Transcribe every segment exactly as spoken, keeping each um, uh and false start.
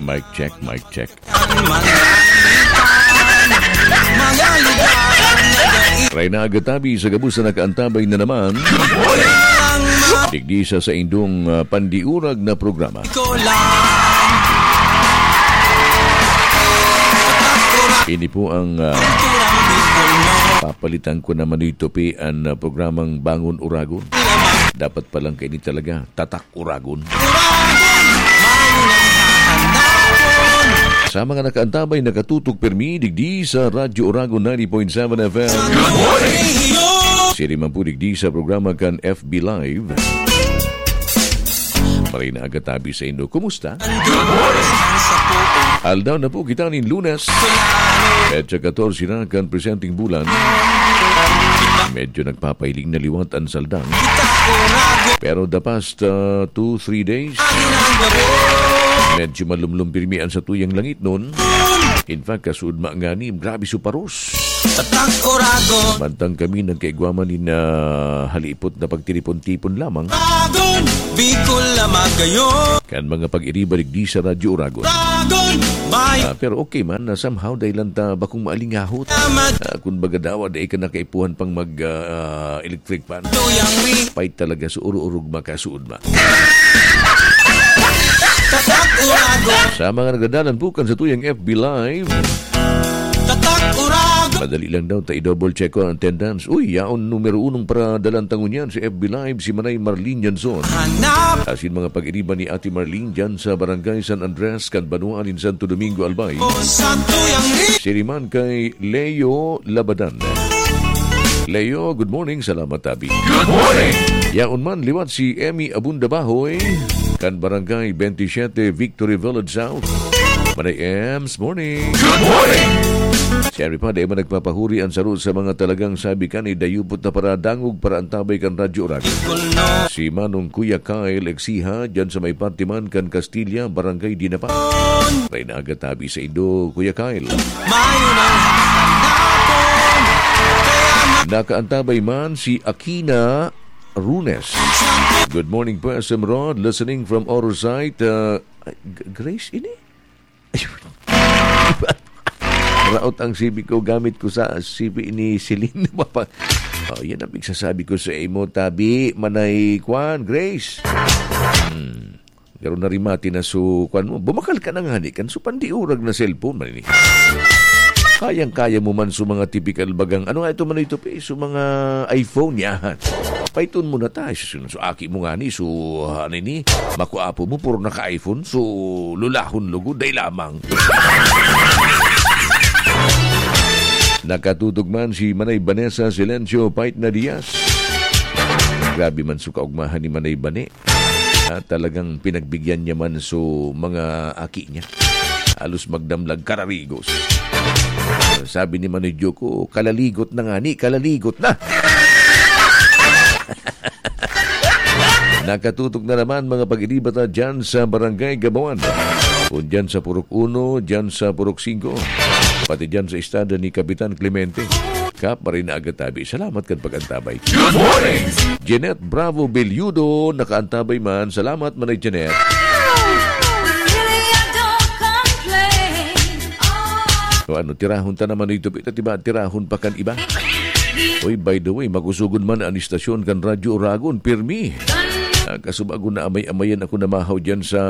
Mic check, mic check. Ray na agatabi sa gabos na nakaantabay na naman. Digdi sa saindong, ah, pandiurag na programa. Ini po ang, ah, papalitan ko naman ito, P, ang, ah, programang Bangon Uragon. Dapat palang kaini talaga, Tatak Uragon. Sa mga nakaantabay, nakatutok pirmi, digdi sa Radyo Uragon ninety point seven F M. Good morning! Siri man po digdi sa programa kan F B Live. Maray na agatabi sa indo. Kumusta? Aldaw na po kita nin Lunes. Petsa katorse na kan presenteng bulan. Medyo nagpapahiling na liwat an saldang. Pero the past, uh, two, three days, medyo malumlom pirmi an satuyang langitnon. In fact, kasuodma ngani, grabe su paros. Tatak Uragon. Mantang kami nagkaigwa man nin, ah, halipot na pagtiripon-tipon lamang. Uragon, Bicol na magayon. Kan mga pag-iriba digdi sa Radyo Uragon. Uragon, may Ah, pero okay man na somehow dahil lang ta bakong maalingahot. Tama. Ah, kung baga daw, dai ka nakaipuhan pang mag, ah, electric fan. Tuyang wi. Pait talaga sa uro-orog makasuod ma. Tatak Uragon. Sa mga nagdadalan bukan sa tuyang F B Live. Tatak Uragon. Madali lang daw, ta i-double check ko ang attendance. Uy, yaon numero unong paradalan tangon yan si F B Live, si Manay Marlene Janson. Hanap. Asin mga pag-iriba ni Ate Marlene dyan sa Barangay San Andres, kan Banwaan in Santo Domingo, Albay. O sa tuyang ri- Siriman kay Leo Labadan. Leo, good morning. Salamat, tabi. Good morning! Yaon man, liwat si Emmy Abunda Bahoy, kan Barangay twenty-seven, Victory Village South. Manay Ems, morning! Good morning! Siyempre pa, dai man nagpapahuri ang saro sa mga talagang sabi ka ni dayupot na paradangog para antabay kan Radyo Uragon. Si Manong Kuya Kyle Exiha, dyan sa may parte man kan Castilla, Barangay Dinapa. May nagatabi sa indo, Kuya Kyle. Mayo nang hanapon. Nakaantabay man si Akina Runes. Good morning po, S M Rod. Listening from Orsay. Uh, G-, Grace, ini? Raot ang C B ko, gamit ko sa C B ni Celine. Papa. Oh, yan ang pigsasabi ko sa imo, tabi, manay kwan, Grace. Hmm. Pero narimati na su, kwan mo, bumakal ka na ngani kan su pandiurag na cellphone man ini. Kayang-kaya mo man su mga tipikal bagang, ano nga ito man ito, pe? Su mga iPhone, yan. Paiton mo na ta, su, su aki mo ngani, su, ano ini, makuapo mo, puro naka-iPhone, su lulahon lugod, dai lamang. Nakatutok man si Manay Vanessa Silencio Pait na Diaz. Grabe man su kaugmahan ni Manay Bane. Ah, talagang pinagbigyan niya man su mga aki niya. Halos magdamlag kararigos. Sabi ni Manoy Joko, "Kalaligot na ngani, kalaligot na." Nakatutok na naman mga pag-iriba ta dyan sa Barangay Gabawan. Kung dyan sa Purok Uno, dyan sa Purok Singko. Pati dyan sa estada ni Kapitan Clemente. Kap, maray na agad tabi. Salamat kan pag-antabay. Good morning! Jeanette Bravo Belludo, nakaantabay man. Salamat, Manay Jeanette. O ano, tirahon ta naman ito, pita, diba? Tirahon pa kan iba. Oy, by the way, makusugon man an istasyon kan Radyo Uragon, pirmi. Ah, kasubago na amay-amayan ako namahaw dyan sa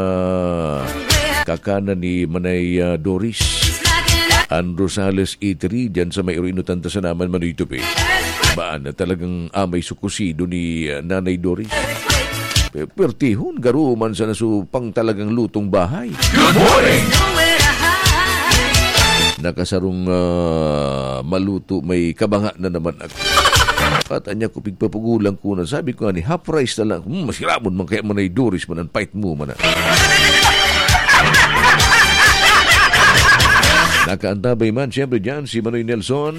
kakanan ni Manay, ah, Doris. An Rosales Eatery, dyan sa may Urinutan ta sa naman, Manoy Tupi. Baan na talagang amay sukusido ni, ah, Nanay Doris. Pe-, pertihon, garo man sana su pang talagang lutong bahay. Good morning! Nakasarong, ah, maluto, may kabanga na naman ako. At anya ko, pigpapugulang ko na. Sabi ko, "Ani, half rice na lang." Hmm, masiramon man kaya Manay Doris man, ang pait mo man, ah. Nakaantabay man, siyempre, dyan, si Manoy Nelson.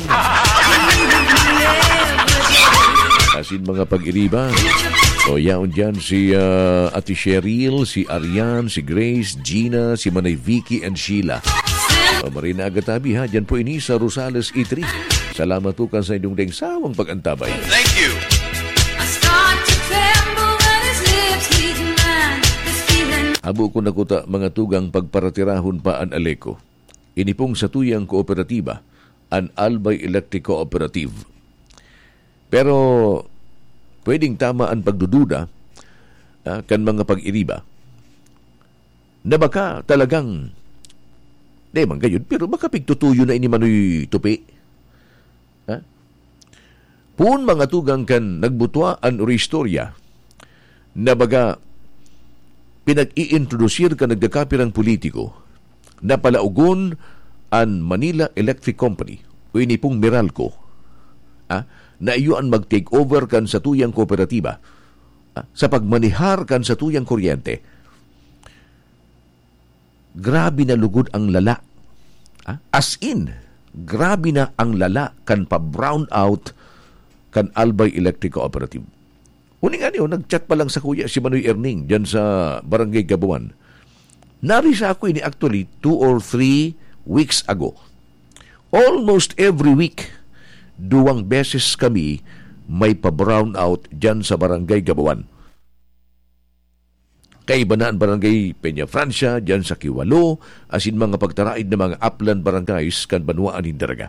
Asin mga pag-iriba. O, yaon dyan si, ah, Ate Cheryl, si Arian, si Grace, Gina, si Manay Vicky, and Sheila. O, maray na agad tabi, ha. Dyan po ini sa Rosales Eatery. Salamat po kan sa inyong deng sawang pag-antabay. Thank you. I start to tremble when his lips leave mine. This feeling Abo ko na kuta, mga tugang, pagparatirahon pa an Aleco. Ini pong satuyang kooperatiba, an Albay Electric Cooperative. Pero pwedeng tama an pagdududa, ah, kan mga pag-iriba na baka talagang, di man gayud, pero baka pigtutuyo na ini Manoy Tupi. Ha? Poon mga tugang kan nagbutwa an istorya na baga pinag-iintrodusir kan nagkakapirang politiko na palaogon an Manila Electric Company o ini pong Meralco, ah, na iyo an mag-take over kan satuyang kooperatiba, ah, sa pagmanihar kan satuyang kuryente. Grabe na lugod ang lala. Ah, as in, grabe na ang lala kan pa-brown out kan Albay Electric Cooperative. Uning ano, nag-chat pa lang sakuya si Manoy Erning diyan sa Barangay Gabuan. Nari sa ako ini actually two or three weeks ago. Almost every week, duwang beses kami may pa-brown out diyan sa Barangay Gabuan. Kaiba na an Barangay Peña Francia, diyan sa Kiwalo, asin mga pagtaraid na mga upland barangays kan banwaan nin Daraga.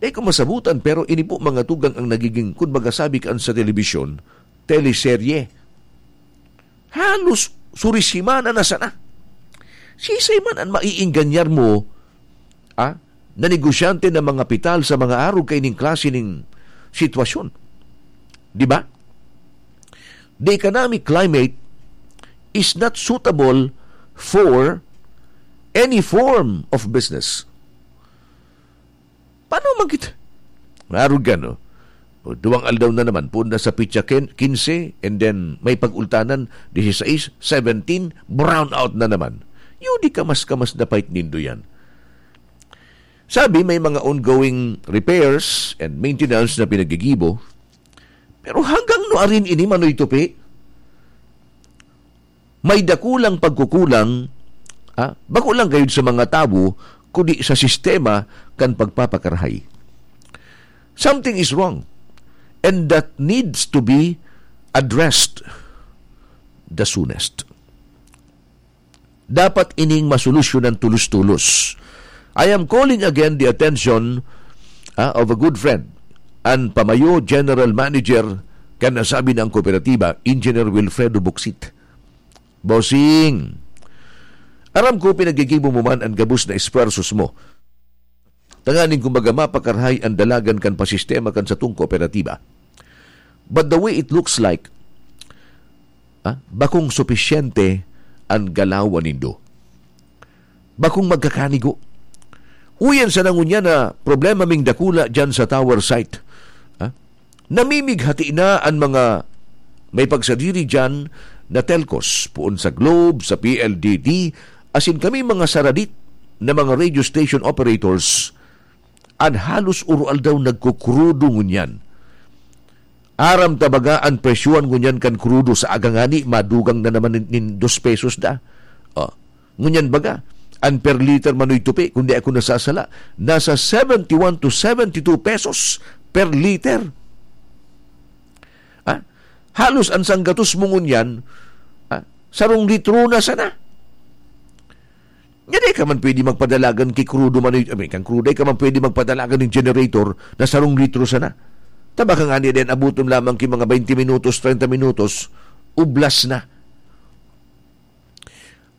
Di ko masabutan, pero ini po mga tugang ang nagiging, kun baga sabi kan sa telebisyon, teleserye. Halos surisimana na sana. Sisay man an maiingganyar mo, ah, na negosyante na mangapital sa mga arog kaining klase ning sitwasyon? Di ba? The economic climate is not suitable for any form of business. Paano man kita? Arog ka, no? O, duwang aldaw na naman, poon na sa pitsa ken-, quince, and then may pag-ultanan, dieciséis, seventeen, brown out na naman. Yun, di kamas-kamas na pait nindo yan. Sabi, may mga ongoing repairs and maintenance na pinagigibo. Pero hanggang nuarin ini, Manoy Tupi? May dakulang pagkukulang, ah, bako lang gayud sa mga tawo, kundi sa sistema kan pagpapakarahay. Something is wrong, and that needs to be addressed the soonest. Dapat ining masolusyonan tulos-tulos. I am calling again the attention, ah, of a good friend, an pamayo general manager kan nasabi na ang kooperatiba, Engineer Wilfredo Buksit. Bossing, aram ko pinagigibo mo man an gabos na esfuerzos mo. Tanganing kumbaga mapakarahay an dalagan kan pasistema kan satong kooperatiba. But the way it looks like, ah, bakong supisyente an galawan nindo. Bakong magkakanigo. Uyan sana ngunyan na problema ming dakula diyan sa tower site. Ah, namimighati na an mga may pagsadiri diyan na telcos, poon sa Globe, sa P L D T, asin kami mga saradit na mga radio station operators, an halos uro-aldaw nagkukrudo ngunyan. Aram ta baga an presyohan ngunyan kan krudo sa aga ngani madugang na naman nin, nin dos pesos da. Oh. Ngunyan baga, an per liter, Manoy Tupi, kung di ako nasasala, nasa seventy-one to seventy-two pesos per liter. Ah, halos an sanggatos mo ngunyan, ah, sarong litro na sana. Nga di ka man pwede magpadalagan ki krudo, Manoy, I mean, kan krudo, di ka man pwede magpadalagan nin generator na sarong litro sana. Ta baka ngani din, abuton lamang ki mga twenty minutos, treinta minutos, ublas na.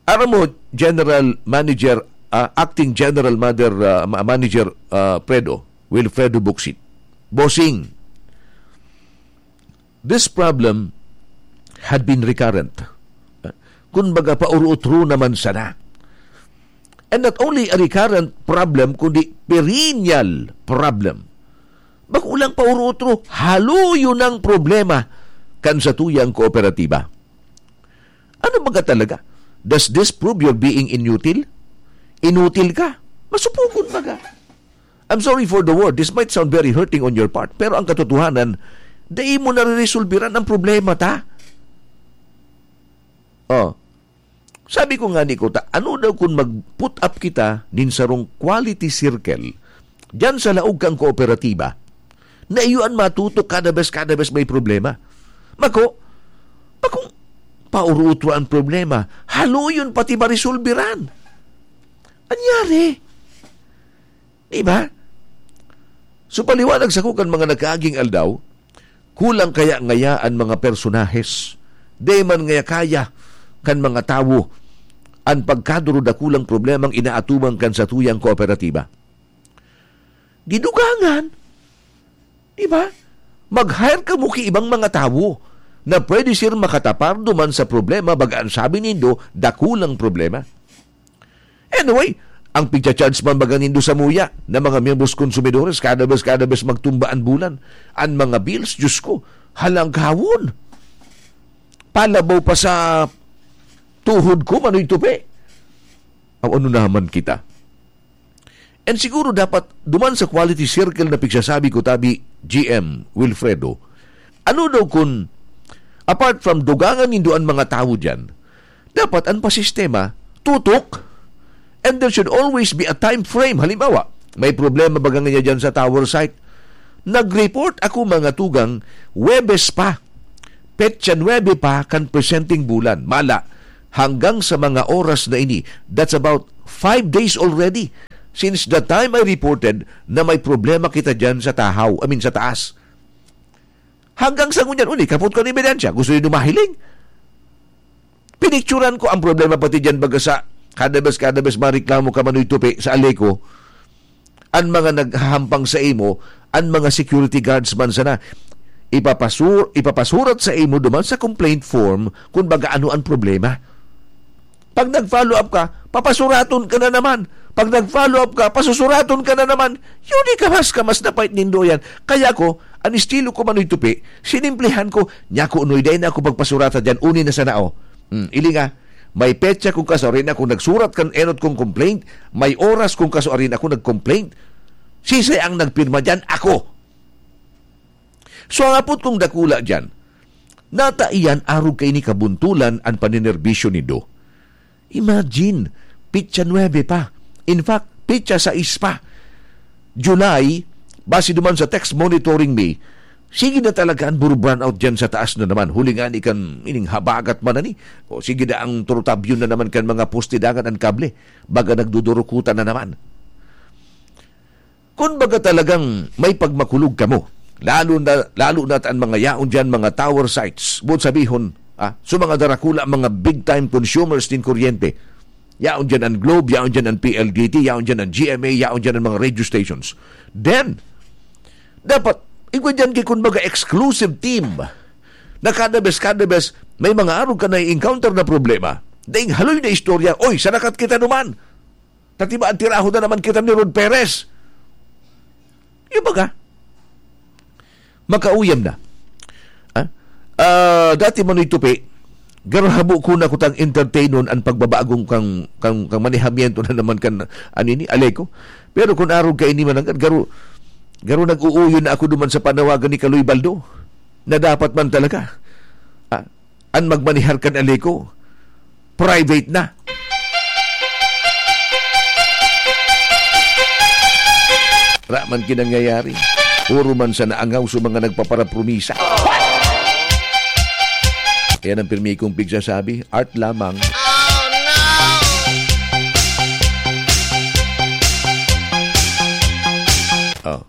Aram mo, General Manager, ah, Acting General Mother, ah, Ma-, Manager, ah, Fredo, Wilfredo Buksit. Bossing, this problem had been recurrent. Kun baga, pauro-otro naman sana. And not only a recurrent problem, kundi perennial problem. Bako lang pauro-otro, haloyo nang problema kan satuyang kooperatiba. Ano baga talaga? Does this prove you're being inutil? Inutil ka? Masupugon baga. I'm sorry for the word. This might sound very hurting on your part, pero ang katotohanan, dai mo nare-resolbiran ang problema ta. Oh. Sabi ko ngani kuta, ano daw kun mag-put up kita nin sarong quality circle diyan sa laog kang kooperatiba, na iyo an matutok kada bes, kada bes may problema. Mako, bakong, paurutro an problema. Haloyon pati maresolbiran. Anyari? Di ba? So, paliwanag sako kan mga nagkaaging aldaw, kulang kaya ngaya an mga personahes? Di man ngaya kaya kan mga tawo an pagkaduro dakulang problemang inaatubang kan satuyang kooperatiba? Didugangan. Di ba? Mag-hire kamo ki ibang mga tawo na pwede sir makatapar duman sa problema, baga an sabi nindo, dakulang problema. Anyway, ang pigcha-charge man baga nindo samuya na mga miyembros konsumidores, kada bes, kada bes magtumba an bulan. An mga bills, Diyos ko, halanghawon. Palabaw pa sa tuhod ko, Manoy Tupi. Aw, ano naman kita? And siguro dapat duman sa quality circle na pigsasabi ko, tabi, G M Wilfredo, ano daw kun, apart from dugangan nindo an mga tawo diyan, dapat an pasistema, tutok, and there should always be a time frame. Halimbawa, may problema baga niya diyan sa tower site. Nag-report ako, mga tugang, Huwebes pa. Petsa nuebe pa kan presenting bulan. Mala, hanggang sa mga oras na ini, that's about five days already since the time I reported na may problema kita diyan sa tahaw, I mean, sa taas. Hanggang sa ngunyan, uni, kapot kan ebidensya. Gusto nindo mahiling? Pinicturan ko ang problema pati diyan, baga sa kada bes, kada bes mareklamo ka, Manoy Tupi, sa Aleco, an mga naghahampang sa imo, an mga security guards man sana, ipapasur-, ipapasurat sa imo duman sa complaint form kun baga ano an problema. Pag nag-follow up ka, papasuraton ka na naman. Pag nag-follow up ka, pasusuraton ka na naman. Yun, ikamas-kamas na pait nindo yan. Kaya ko, an estilo ko, Manoy Tupi, sinimplihan ko, "Nya ko, unoy, dai na ako pagpasurata dyan, uni na sana, oh." Hmm, ili nga, may petsa kung kasuarin ako nagsurat kan enot kong complaint, may oras kung kasuarin ako nag-complaint. Sisay ang nagpirma dyan? Ako. So, ang apot kong dakula dyan, nata iyan arog kaini kabuntulan an paninerbisyo nindo. Imagine, petsa nuebe pa. In fact, petsa sais pa. July, base duman sa text monitoring mi, sige na talaga an buru-brownout dyan sa taas na naman. Huli nga ni kan ining habagat man ani. O sige na ang turutabyon na naman kan mga poste dangan an kable. Baga nagdudurukutan na naman. Kun baga talagang may pagmakulog kamo, lalo na, lalo na an mga yaon diyan, mga tower sites, buot sabihon, ah, so mga darakula, mga big time consumers nin kuryente. Yaon diyan an Globe, yaon diyan an P L D T, yaon diyan an G M A, yaon diyan an mga radio stations. Then, dapat, igwa diyan ki, kun baga, exclusive team na kada bes, kada bes, may mga arog ka na-encounter na problema. Daing haloy na istorya, "Oy, sarakat kita duman!" Tatiba an tiraho na naman kita ni Rod Perez. Yung baga, makauyam na. Ah? Ah, dati, Manoy Tupi, garo habo ko na kutang entertainon an pagbabagong kang, kang, kang manehamiento na naman kan, ano ini, Aleco. Pero kun arog kaini mananggad, garo, garo nag-uuyon na ako duman sa panawagan ni Kaloy Baldo na dapat man talaga, ah, an magmanihar kan Aleco, private na. Ra man kinangyayari. Puro man sa naangaw sa mga nagpaparapromisa. Yan ang pirmi kong pigsasabi, art lamang. Oh.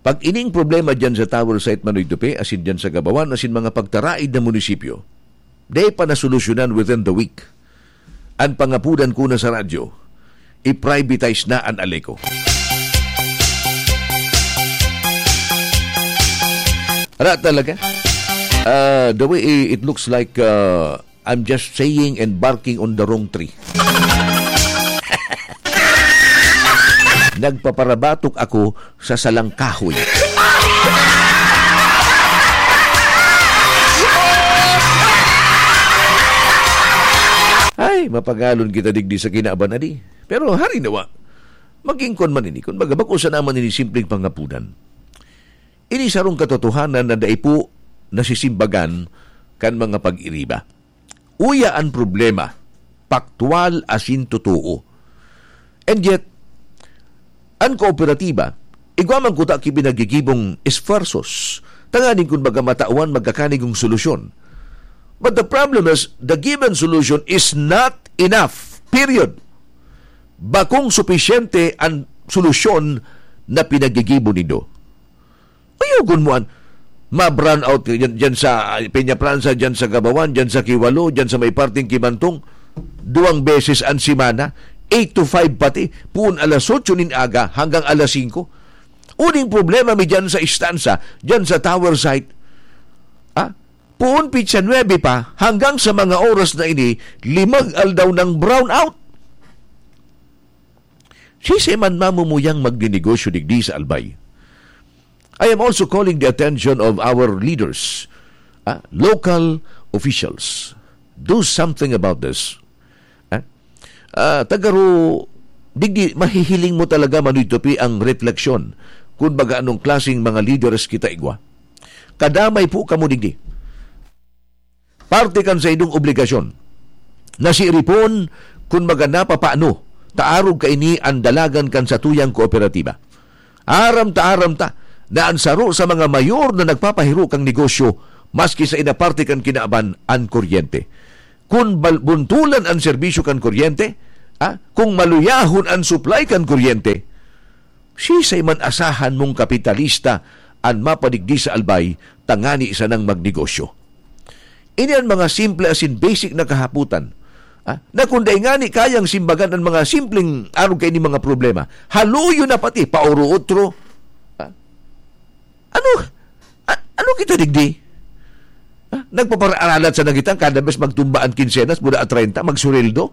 Pag ining problema dyan sa tower site, Manoy Tupi, asin dyan sa Gabawan, asin mga pagtaraid na munisipyo, di pa nasolusyonan within the week. An pangapudan ko na sa radyo, i-privatize na an Aleco. Ara talaga? Ah, the way i-, it looks like, ah, I'm just saying and barking on the wrong tree. Nagpaparabatok ako sa salang kahoy. Ay, mapagalon kita digdi sa kinaban, adi. Pero hari nawa, maging kon man ini, kun baga, bako sana man ini simpleng pangapudan. Ini sarong katotohanan na dai po nasisimbagan kan mga pag-iriba. Uya an problema, paktwal asin totoo. And yet, an kooperatiba, igwa man kuta ki pinagigibong esfuerzos, tanganing kun baga matawan magkakanigong solusyon. But the problem is, the given solution is not enough. Period. Bakong supisyente an solusyon na pinaggigibo nindo. Ayaw gun mo an ma-brown out dyan, dyan sa, ah, Peñafrancia, dyan sa Gabawan, dyan sa Kiwalo, dyan sa may parting Kimantong. Duwang beses an semana, eight to five pati, puon alas otso nin aga hanggang alas singko. Uning problema mi dyan sa istansa, dyan sa tower site. Ah, puon pitsa nuebe pa, hanggang sa mga oras na ini, limag aldaw ng brown out. Siisay man mamumuyang magninegosyo digdi sa Albay? I am also calling the attention of our leaders, ah, local officials. Do something about this. Ah, ah, tagaro, digdi, mahihiling mo talaga, Manoy Tupi, ang refleksyon. Kun baga anong klaseng mga leaders kita igwa. Kadamay po kamo digdi. Parte kan saindong obligasyon na siiripon kun baga napapano ta arog kaini an dalagan kan satuyang kooperatiba. Aram ta, aram ta na an saro sa mga mayor na nagpapahiro kan negosyo, maski sa inaparte kan kinaban, an kuryente. Kun bal-, buntulan an serbisyo kan kuryente, ah, kung maluyahon an supply kan kuryente, siisay man asahan mong kapitalista an mapadigdi sa Albay tangani sanang magnegosyo? Ini an mga simple asin basic na kahapotan, ah, na kun dai ngani kayang simbagan an mga simpleng arog kaini mga problema, haluyo na pati paoro-otro. Ah, ano? A-, ano kita digdi? Ah, nagpapararalat sa nagitang kada bes magtumba an kinsenas, mula at treinta, magsureldo?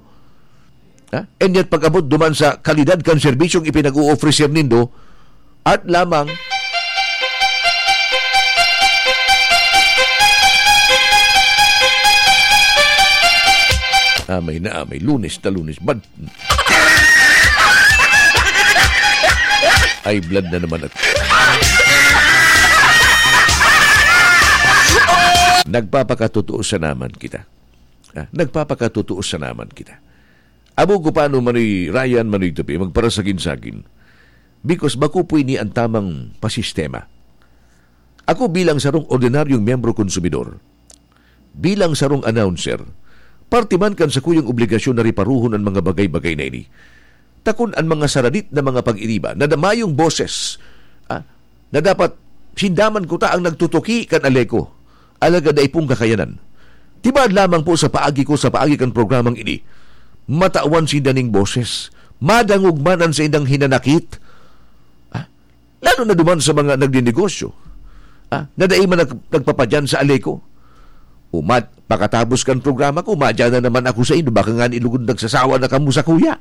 Ha? And yet, pag-abot duman sa kalidad kan serbisyong ipinag-o-ofrecer nindo, at lamang, amay na amay, Lunes na Lunes, bad-, ay, blood na naman at nagpapakatotoo sa naman kita. Ah, nagpapakatotoo sa naman kita. Abo ko paano, Manoy Ryan, Manoy Tupi, magparasagin-sagin. Because bako po ini an tamang pasistema. Ako bilang sarong ordinaryong miyembro konsumidor, bilang sarong announcer, parte man kan sakuyang obligasyon na riparuhon an mga bagay-bagay na ini. Takon an mga saradit na mga pag-iriba na mayong boses, ah, na dapat sinda man kuta ang nagtutuki kan ALECO. Alagad dai pong kakayanan. Tibaad lamang po sa paagi ko, sa paagi kan programang ini, matawan sinda ning boses. Madangog man an saindang hinanakit. Ah, lalo na duman sa mga nagninegosyo, ah, na dai man nag-, nagpapadyan sa ALECO. O mat-, pakatapos kan programa ko, madyan na naman ako sa inyo. Baka ngani lugod nagsasawa na kamo sakuya.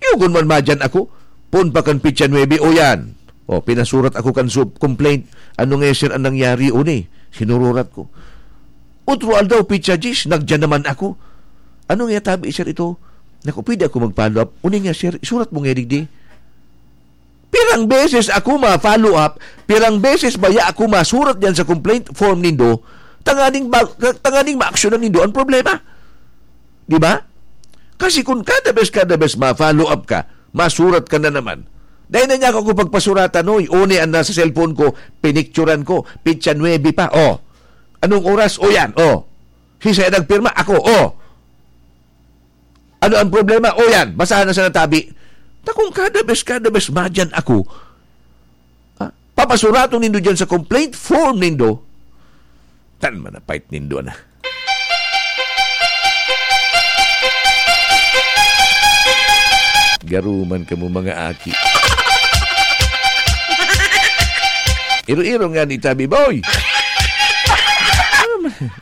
Yugon man madyan ako, poon pa kan pitsa nuebe, o yan. O, pinasurat ako kan sub-, complaint. Ano nga, sir, ang nangyari, uni? Sinururat ko. Otro aldaw, pitsa dyes, nagyan naman ako. Ano nga tabi, sir, ito? Naku, pwede ako mag-follow up? Uni nga, sir, isurat mo nga digdi. Pirang beses ako ma-follow up, pirang beses baya ako masurat diyan sa complaint form nindo, tanganing ba-, tanganing maaksyonan nindo ang problema. Di ba? Kasi kung kada bes, kada bes ma-follow up ka, masurat ka na naman. Dahil na niya ako pagpasuratan, oy, uni ang nasa cellphone ko, pinicturan ko, pitsa nuebe pa, oh. Anong oras? O yan, oh. Sisay nagpirma? Ako, oh. Ano ang problema? O yan, basahan na sa natabi. Ta kung kada bes, kada bes, madyan ako, ha? Papasuraton nindo dyan sa complaint form nindo. Tan man, napait nindo na. Garuman kamo, mga aki. Iro-iro nga ni tabi, boy!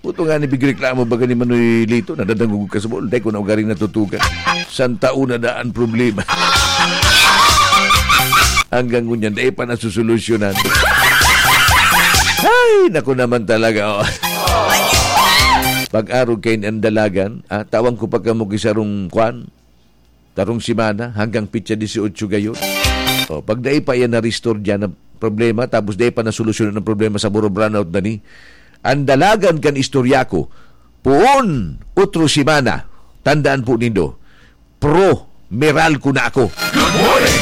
Puto nga ni bigreklamo baga ni Manoy Lito, nadadangog ka sa buol, dai ko na ugaring natutukan. Santa una daan problema. Hanggang ngunyan, dai pa nasusolusyonan. Ay, naku naman talaga, oh. Pag-arog kay ang dalagan, ah, tawan ko pa kamo ki sarong kwan, tarong semana, hanggang pitsa dieciocho gayon. Oh, pag dai pa yan na-restore dyan ang problema, tapos dai pa nasolusyonan ang problema sa Buro Brownout na ni, ang dalagan kan istorya ko, poon, otro semana, tandaan po nindo, pro Meralco na ako. Good morning!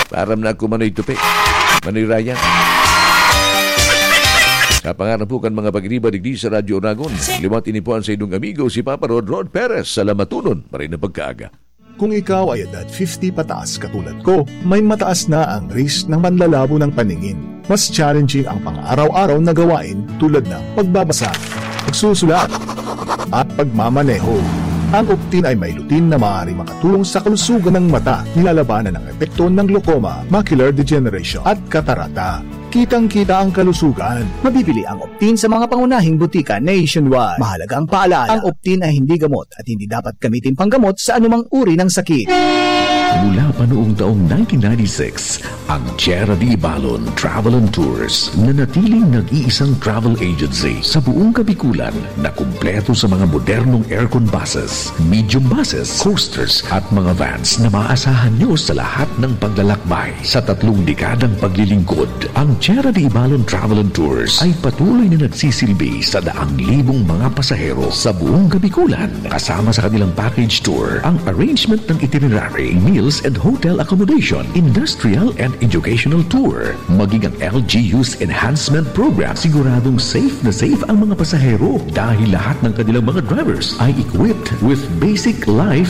Param na ako, Manoy Tupi. Manoy Ryan. Sa pangaran po kan mga pag-iriba digdi sa Radyo Oragon, liwat ini po ang saindong amigo, si Papa Rod, Rod Perez. Salamatunon, maray na pagkaaga. Kung ikaw ay edad fifty pataas katulad ko, may mataas na ang risk ng panlalabo ng paningin. Mas challenging ang pang-araw-araw na gawain tulad ng pagbabasa, pagsusulat, at pagmamaneho. Ang Optin ay may lutein na maaari makatulong sa kalusugan ng mata, nilalabanan ang epekto ng glaucoma, macular degeneration, at katarata. Kitang-kita ang kalusugan. Mabibili ang Optin sa mga pangunahing butika nationwide. Mahalaga ang paalala, ang Optin ay hindi gamot at hindi dapat gamitin panggamot sa anumang uri ng sakit. Mula pa noong taong nineteen ninety-six, ang Tierra de Ibalon Travel and Tours, nanatiling nag-iisang travel agency sa buong Kabikulan na kumpleto sa mga modernong aircon buses, medium buses, coasters at mga vans na maaasahan nyo sa lahat ng paglalakbay. Sa tatlong dekadang paglilingkod, ang Tierra de Ibalon Travel and Tours ay patuloy na nagsisilbi sa daang libong mga pasahero sa buong Kabikulan. Kasama sa kanilang package tour, ang arrangement ng itinerary, meals and hotel accommodation, industrial and educational tour, maging ang L G U's enhancement program. Siguradong safe na safe ang mga pasahero dahil lahat ng kanilang mga drivers ay equipped with basic life